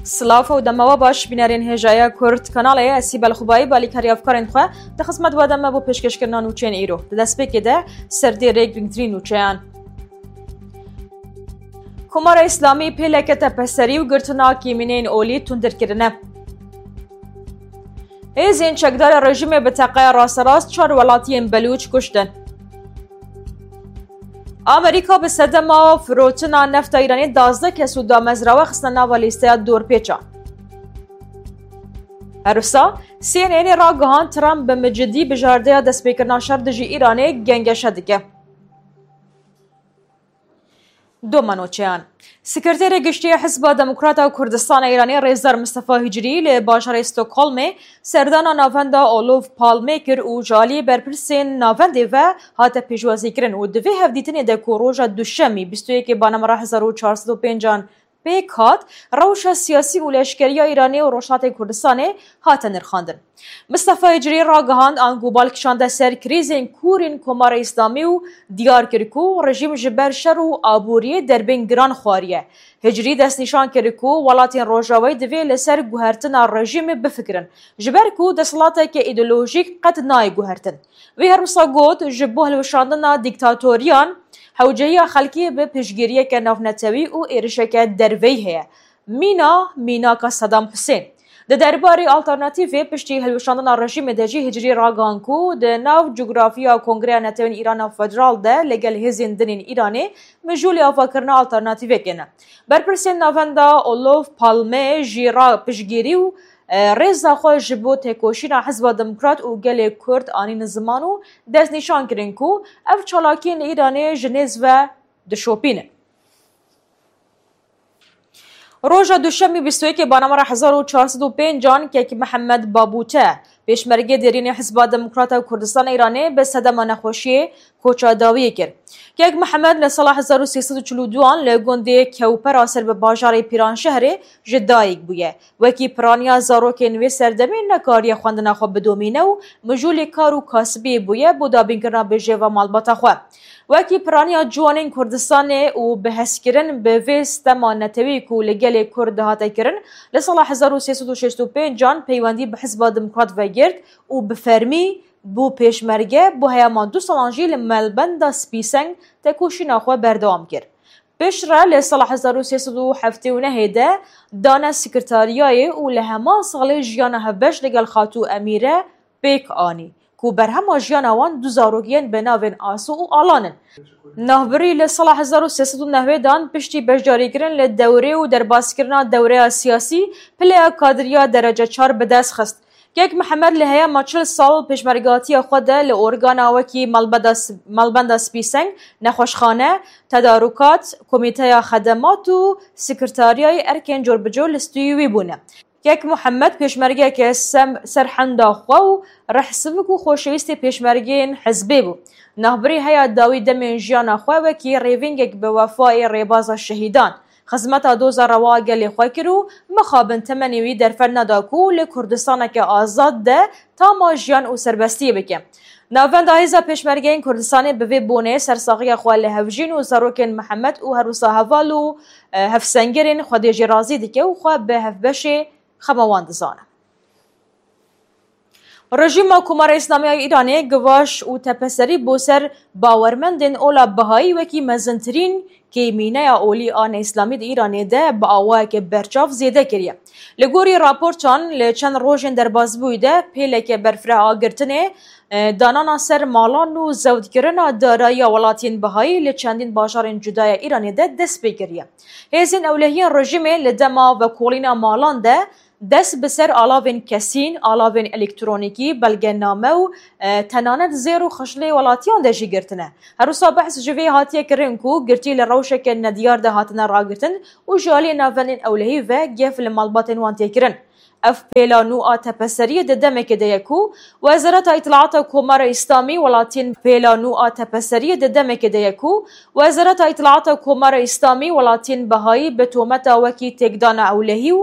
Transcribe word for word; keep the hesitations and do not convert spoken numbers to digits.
Silav û dema we baş, bînerên hêjaya Kurd Kanalê, ez Sîbel Xubayî, balîkarî hevkarên xwe di xizmet we de me bo pêşkêşkirina nûçeyên îro. Di destpêkê de serdêrê girîngtirîn nûçeyan. Komara Îslamî pêleke tepeserî û girtina kêmîneyên olî tundir kirine. Hêzên çekdara rejîmê bi teqeya rasterast çar welatiyên belûç kuştin. Amerîka bi sedema firotina nefta Îranê duwazdeh kes û damezrawe xistine nava lîsteya dorpêçan. Her wisa, C N N'ê ragihand Trump bi micidî bijardeya destpêkirina şer dijî Îranê gengeşe dike. Doma nûçeyan. Sekreterê Giştî ya Hizba Demokrata Kurdistana Îranê Rêzdar Mistefa Hicrî li bajarê Stockholmê serdana navenda Olof Palme kir û ji aliyê berpirsên navendê ve hate pêşwazîkirin û di vê hevdîtinê de ku roja Duşemî bîst û yekê Banemera hezar û çar sed û pêncan pêk hat, rewşa siyasî û leşkeriya Îranê û Rojhilatê Kurdistanê hate nirxandin. Mistefa Hicrî ragihand, ango bal kişande ser krîzên kûr ên Komara Îslamî û diyar kir ku rejîm ji ber şer û aboriyê derbên giran xwariye. Hicrî destnîşan kir ku welatên Rojavayî divê li ser guhertina rejîmê bifikirin, ji ber ku desthilateke îdeolojîk qet nayê guhertin. Wî her wisa got, ji bo hilweşandina dîktatoriyan, hewcehiya xelkê bi piştgiriyeke navnetewî û êrişeke derveyî heye. Mîna, mînaka Sedam Husên. Di derbarê alternatîfê piştî hilweşandina rejîmê de jî Hicrî ragihand ku di nav cografiya Kongreya Netewên Îrana Federal de li gel hêzên din ên Îranê mijûlê avakirina alternatîfekê ne. Berpirsên navenda Olof Palme jî ra piştgirî û, e, rêza xwe ji bo têkoşîna Hizba Demokrat û gelê Kurd anîn ziman û destnîşan kirin ku ev çalakiyên li Îranê ji nêz ve dişopînin. Roja Duşemî bîst û yekê Banemera hezar û çar sed û pêncan Kek Mihemed Babûte, pêşmergê derînê Hizba Demokrata Kurdistan Îranê bi sedema nexweşiyê koça dawiyê kir. Kek Mihemed li sala hezar û sê sed û çil û duan li gundê Kewpera ser bi bajarê Pîranşehrê ji dayik bûye. Wekî piraniya zarokên wê serdemê nekariye xwendina xwe bidomîne û mijûlê kar û kasibiyê bûye bo dabînkirina bijêva malbata xwe. Wekî piraniya ciwanên Kurdistanê û bi hezkirin bi vê stema netewî ku li gelê Kurd dihate kirin, li sala hezar û sê sed û şêst û pêncan peywendî bi Hizba Demokrat vegirt û bi fermî bû pêşmerge, bo heyama du salan jî li Malbenda Spîseng tekoşîna xwe berdewam kir. Piştre li sala hezar û sê sed û heftê û nehê de dane sekretariyayê û li heman salê jiyana hevbeş li gel Xatû Emîre pêk anî ku berhema jiyana wan du zarok yên bi navên Aso û Alan in. Navbirî li sala hezar û sê sed û newêdan piştî beşdarîkirin li dewrê û derbaskirina dewreya siyasî pileya kadriya derece çar bi dest xist. Kek Mihemed li heyama çil sal pêşmergatiya xwe de li organa wekî Malbeda S-, Malbenda Spîseng, nexweşxane, tedarukat, komîteya xedemat û sekretariyayê erkên corbicor li stûyê wî bûne. Kek Mihemed pêşmergeyeke sem-, serhenda xwe û rehsivik û xoşewîstê pêşmergeyên hizbê bû. Navbirî heya dawî demên jiyana xwe wekî rêvîngek bi wefayê rêbaza şehîdan, xizmeta doza rewa gelê xwe kir û mixabin temenê wî derfet neda ku li Kurdistaneke azad de tama jiyan û serbestiyê bike. Navenda Hêza Pêşmergeyên Kurdistanê bi vê bonê sersaxiya xwe li hevjîn û zarokên Mihemed û her wisa heval û, e, hevsengerên xwedê jê razî dike û xwe bi hevbeşê xema wan dizane. Rejîma Komara Îslamî ya Îranê givaş û tepeserî bo ser bawermendên ola Bihayî wekî mezintirîn kêmîneya olî a neîslamî di Îranê de bi awayeke berçav zêde kiriye. Li gorî raportan, li çend rojên derbasbûyî de pêleke berfireh a girtinê, e, danana ser malan û zewtkirina darayiya welatiyên Bihayî li çendîn bajarên cuda ya Îranê de dest pê kiriye. Hêzên ewlehiyên rejîmê li dema vekolîna malan de dest bi ser alavên kesîn, alavên elektronîkî, belgename û, e, tenanet zêr û xişlê welatiyan de jî girtine. Her wisa behs ji vê hatiye kirin ku girtî li rewşeke nediyar de hatine ragirtin û ji aliyê navendên ewlehî ve gef li malbatên wan tê kirin. Ev pêla nû a tepeseriyê di demekê de ye ku Wezareta Îtilata Komara Îslamî welatiyên pêla nû a tepeseriyê di demekê de ye ku Wezareta Îtilata Komara Îslamî welatiyên Behayî bi tometa wekî têkdana ewlehî û